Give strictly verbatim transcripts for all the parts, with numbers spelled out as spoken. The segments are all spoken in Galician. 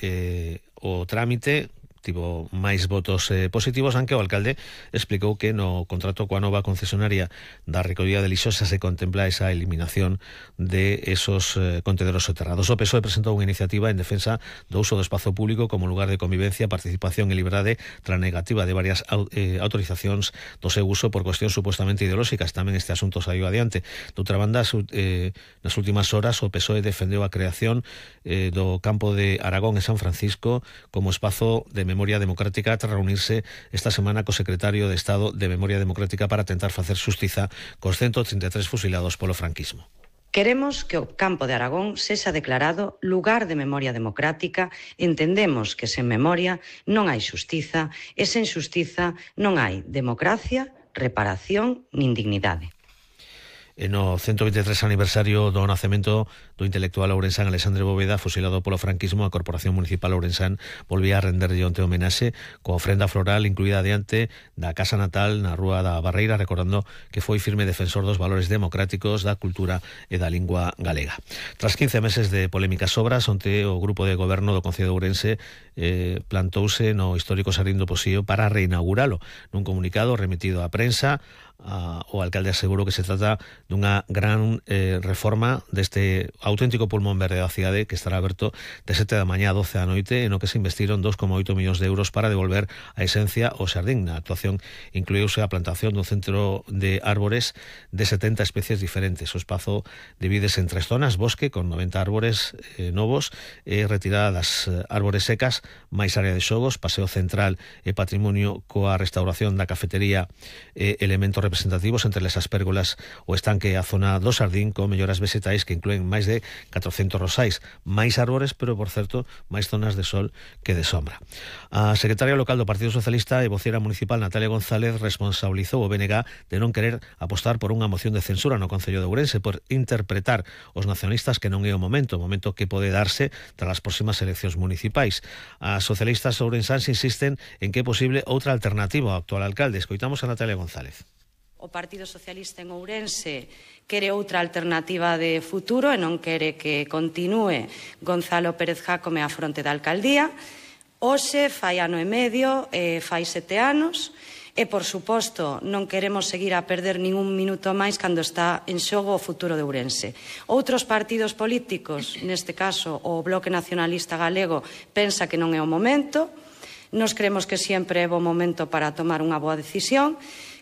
eh, o trámite tivo máis votos eh, positivos, aunque o alcalde explicou que no contrato coa nova concesionaria da recollida de lixo xa se contempla esa eliminación de esos eh, contenedores soterrados. O P S O E presentou unha iniciativa en defensa do uso do espazo público como lugar de convivencia, participación e liberdade tras negativa de varias eh, autorizacións do seu uso por cuestións supuestamente ideolóxicas. Tamén este asunto saiu adiante. Doutra banda, eh, nas últimas horas o P S O E defendeu a creación eh, do campo de Aragón en San Francisco como espazo de memoria democrática tras reunirse esta semana co secretario de Estado de Memoria Democrática para tentar facer xustiza cos ciento trinta e tres fusilados polo franquismo. Queremos que o campo de Aragón sexa declarado lugar de memoria democrática. Entendemos que sen memoria non hai xustiza e sen xustiza non hai democracia, reparación nin dignidade. E no ciento veintitrés aniversario do nacemento do intelectual ourensán Alexandre Bóveda, fusilado polo franquismo, a Corporación Municipal ourensán volvía a renderlle onte homenaxe coa ofrenda floral incluída diante da casa natal na Rúa da Barreira, recordando que foi firme defensor dos valores democráticos, da cultura e da lingua galega. Tras quince meses de polémicas obras, onte o grupo de goberno do Concello de Ourense eh, plantouse no histórico Xardín do Posío para reinauguralo. Nun comunicado remitido á prensa, Uh, o alcalde asegurou que se trata dunha gran eh, reforma deste auténtico pulmón verde da cidade que estará aberto de sete da mañá a doce da noite, en o que se investiron dos coma oito millóns de euros para devolver a esencia ao xardín. Na actuación incluíuse a plantación dun centro de árbores de setenta especies diferentes. O espazo divídese en tres zonas: bosque con noventa árbores eh, novos, e eh, retirada das eh, árbores secas, máis área de xogos, paseo central e patrimonio coa restauración da cafetería e eh, elementos representativos, entre as pérgolas, o estanque e a zona do xardín con melloras vegetais que incluen máis de catrocentos rosais, máis árbores, pero por certo máis zonas de sol que de sombra. A secretaria local do Partido Socialista e vocera municipal Natalia González responsabilizou o B N G de non querer apostar por unha moción de censura no Concello de Ourense por interpretar os nacionalistas que non é o momento, o momento que pode darse tras as próximas eleccións municipais. As socialistas ourensáns insisten en que é posible outra alternativa ao actual alcalde. Escoitamos a Natalia González. O Partido Socialista en Ourense quere outra alternativa de futuro e non quere que continúe Gonzalo Pérez Jácome á fronte da alcaldía. Hoxe fai ano e medio, e fai sete anos, e, por suposto, non queremos seguir a perder ningún minuto máis cando está en xogo o futuro de Ourense. Outros partidos políticos, neste caso o Bloque Nacionalista Galego, pensa que non é o momento. Nos creemos que sempre é bo momento para tomar unha boa decisión.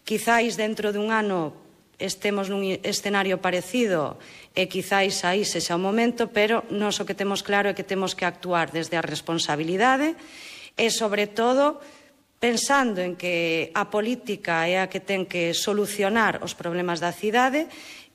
Quizáis dentro dun ano estemos nun escenario parecido e quizáis aí sexa o momento, pero nós o que temos claro é que temos que actuar desde a responsabilidade e, sobre todo, pensando en que a política é a que ten que solucionar os problemas da cidade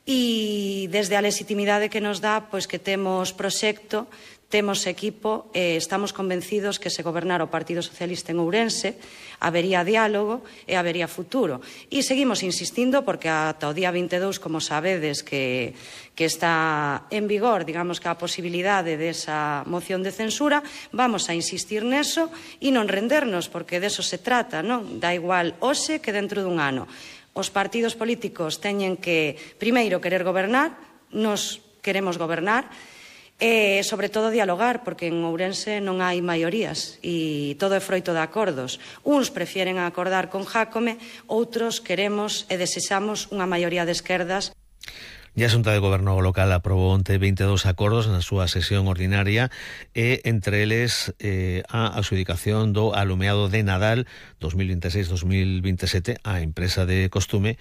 e desde a legitimidade que nos dá, pois que temos proxecto, temos equipo e estamos convencidos que se gobernara o Partido Socialista en Ourense habería diálogo e habería futuro. E seguimos insistindo porque ata o día vinte e dous, como sabedes, que, que está en vigor, digamos que a posibilidade desa moción de censura, vamos a insistir neso e non rendernos, porque deso se trata, non? Da igual hoxe que dentro dun ano. Os partidos políticos teñen que, primeiro, querer gobernar, nos queremos gobernar, e, sobre todo, dialogar, porque en Ourense non hai maiorías e todo é froito de acordos. Uns prefieren acordar con Jácome, outros queremos e desexamos unha maioría de esquerdas. E a Xunta de Goberno local aprobou onte vinte e dous acordos na súa sesión ordinaria e entre eles eh, a adxudicación do alumeado de Nadal dos mil vinte e seis dos mil vinte e sete á empresa de costume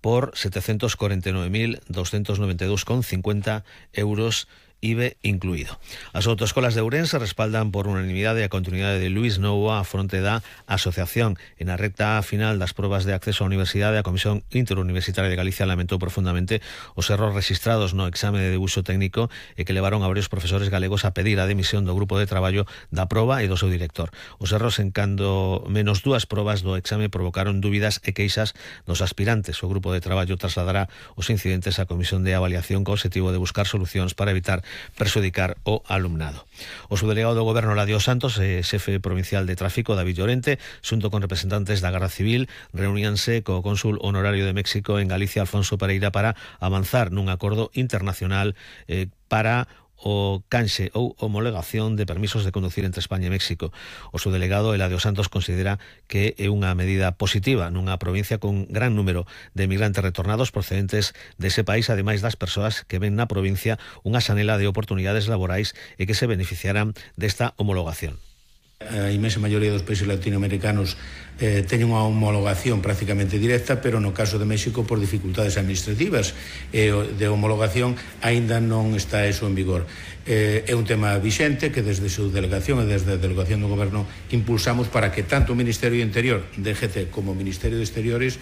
por setecentos corenta e nove mil doscentos noventa e dous con cincuenta euros I B E incluído. As autoescolas de Ourense respaldan por unanimidade a continuidade de Luís Novoa a fronte da asociación. En a recta final das probas de acceso á universidade, a Comisión Interuniversitaria de Galicia lamentou profundamente os erros registrados no exame de debuxo técnico e que levaron a varios profesores galegos a pedir a demisión do grupo de traballo da proba e do seu director. Os erros en cando menos dúas probas do exame provocaron dúbidas e queixas dos aspirantes. O grupo de traballo trasladará os incidentes á Comisión de Avaliación co objetivo de buscar solucións para evitar perxudicar o alumnado. O subdelegado do Goberno, Ladio Santos, e xefe provincial de tráfico, David Llorente, xunto con representantes da Garda Civil, reuníanse co cónsul honorario de México en Galicia, Alfonso Pereira, para avanzar nun acordo internacional eh, para o canxe ou homologación de permisos de conducir entre España e México. O seu delegado, Eladio Santos, considera que é unha medida positiva nunha provincia con gran número de migrantes retornados procedentes dese país, ademais das persoas que ven na provincia unha xanela de oportunidades laborais e que se beneficiarán desta homologación. A inmensa maioría dos países latinoamericanos eh, teñen unha homologación prácticamente directa, pero no caso de México por dificultades administrativas e eh, de homologación aínda non está eso en vigor. Eh, é un tema vixente que desde a súa delegación e desde a delegación do Goberno impulsamos para que tanto o Ministerio do Interior, D G T, como o Ministerio de Exteriores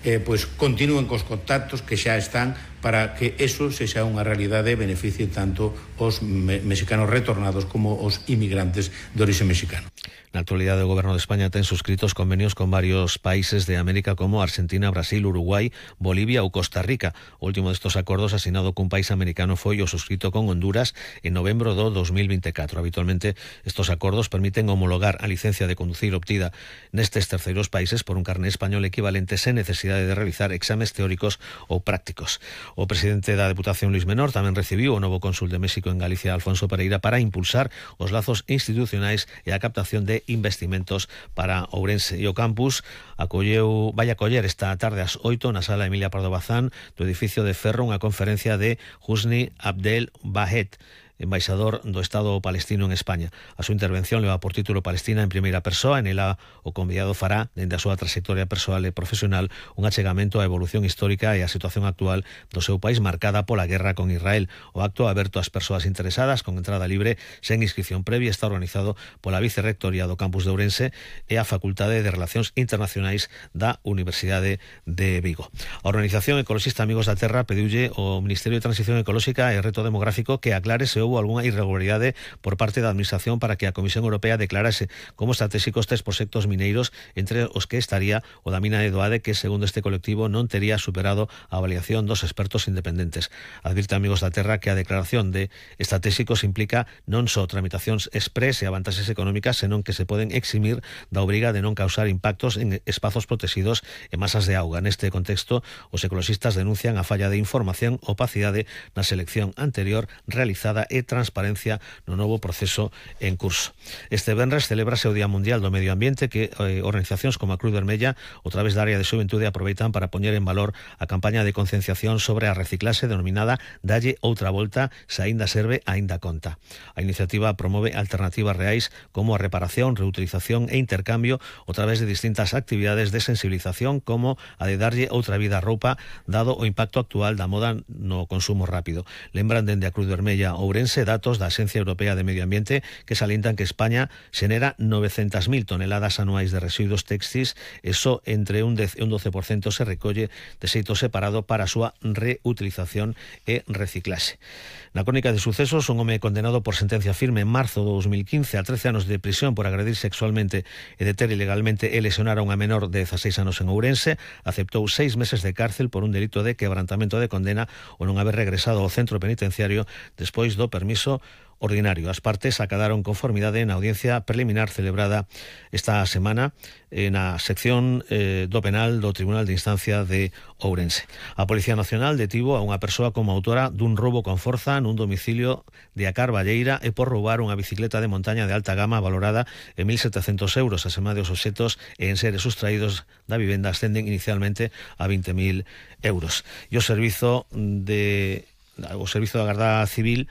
eh, pues, continúen cos contactos que xa están para que eso sexa unha realidade e beneficie tanto os me mexicanos retornados como os inmigrantes de orixe mexicano. Na actualidade, o Goberno de España ten suscritos convenios con varios países de América como Argentina, Brasil, Uruguai, Bolivia ou Costa Rica. O último destos acordos asinado cun país americano foi o suscrito con Honduras en novembro do dos mil veinticuatro. Habitualmente, estos acordos permiten homologar a licencia de conducir obtida nestes terceiros países por un carné español equivalente sen necesidade de realizar exames teóricos ou prácticos. O presidente da Deputación, Luis Menor, tamén recibiu o novo cónsul de México en Galicia, Alfonso Pereira, para impulsar os lazos institucionais e a captación de investimentos para Ourense. E o campus acolleu, vai acoller esta tarde ás oito na sala Emilia Pardo Bazán do edificio de Ferro unha conferencia de Husni Abdel Bahed, embaixador do Estado palestino en España. A súa intervención leva por título Palestina en primeira persoa. En ela o convidado fará, dende a súa trayectoria persoal e profesional, un achegamento á evolución histórica e á situación actual do seu país marcada pola guerra con Israel. O acto, aberto ás persoas interesadas con entrada libre sen inscripción previa, está organizado pola Vicerrectoría do Campus de Ourense e a Facultade de Relacións Internacionais da Universidade de Vigo. A organización ecoloxista Amigos da Terra pediulle ao Ministerio de Transición Ecolóxica e Reto Demográfico que aclare se houbo algunha irregularidade por parte da Administración para que a Comisión Europea declarase como estratégicos tres proxectos mineiros, entre os que estaría o da mina de Doade, que segundo este colectivo non tería superado a avaliación dos expertos independentes. Advirte Amigos da Terra que a declaración de estratégicos implica non só tramitacións express e avantaxes económicas, senón que se poden eximir da obriga de non causar impactos en espazos protegidos e masas de auga. Neste contexto, os ecoloxistas denuncian a falla de información, opacidade na selección anterior realizada e transparencia no novo proceso en curso. Este venres celebrase o Día Mundial do Medio Ambiente, que eh, organizacións como a Cruz Vermella, a través da área de xuventude, aproveitan para poñer en valor a campaña de concienciación sobre a reciclase denominada Dalle outra volta, se aínda serve, aínda conta. A iniciativa promove alternativas reais como a reparación, reutilización e intercambio a través de distintas actividades de sensibilización, como a de darlle outra vida á roupa, dado o impacto actual da moda no consumo rápido. Lembran dende a Cruz Vermella Ourense datos da Axencia Europea de Medio Ambiente que salientan que España xenera novecentas mil toneladas anuais de residuos textis e só entre un dez e un doce por cento se recolle de xeito separado para a súa reutilización e reciclaxe. Na crónica de sucesos, un home condenado por sentencia firme en marzo de dos mil quince a trece anos de prisión por agredir sexualmente e deter ilegalmente e lesionar a unha menor de dezaseis anos en Ourense aceptou seis meses de cárcel por un delito de quebrantamento de condena ou non haber regresado ao centro penitenciario despois do permiso ordinario. As partes acadaron conformidade na audiencia preliminar celebrada esta semana na sección eh, do penal do Tribunal de Instancia de Ourense. A Policía Nacional detivo a unha persoa como autora dun roubo con forza nun domicilio de a Carballeira e por roubar unha bicicleta de montaña de alta gama valorada en mil setecientos euros. Asema de os obxetos e en seres sustraídos da vivenda ascenden inicialmente a vinte mil euros. E o servizo de o servizo da Garda Civil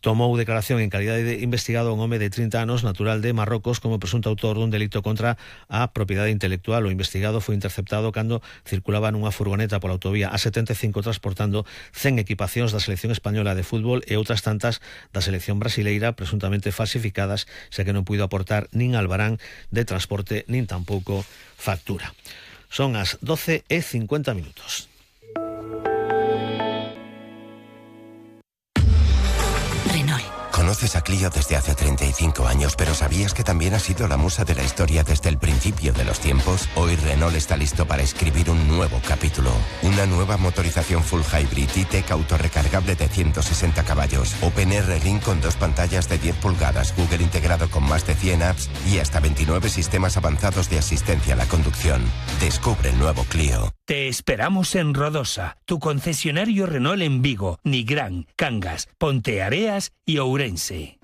tomou declaración en calidade de investigado a un home de trinta anos natural de Marrocos como presunto autor dun delito contra a propiedade intelectual. O investigado foi interceptado cando circulaba nunha furgoneta pola autovía A setenta e cinco transportando cen equipacións da selección española de fútbol e outras tantas da selección brasileira presuntamente falsificadas, xa que non puido aportar nin albarán de transporte nin tampouco factura. Son as doce e cincuenta minutos. Conoces a Clio desde hace treinta y cinco años, pero ¿sabías que también ha sido la musa de la historia desde el principio de los tiempos? Hoy Renault está listo para escribir un nuevo capítulo. Una nueva motorización full hybrid E-Tech autorrecargable de ciento sesenta caballos, OpenR Link con dos pantallas de diez pulgadas, Google integrado con más de cien apps y hasta veintinueve sistemas avanzados de asistencia a la conducción. Descubre el nuevo Clio. Te esperamos en Rodosa, tu concesionario Renault en Vigo, Nigrán, Cangas, Ponteareas y Ourense.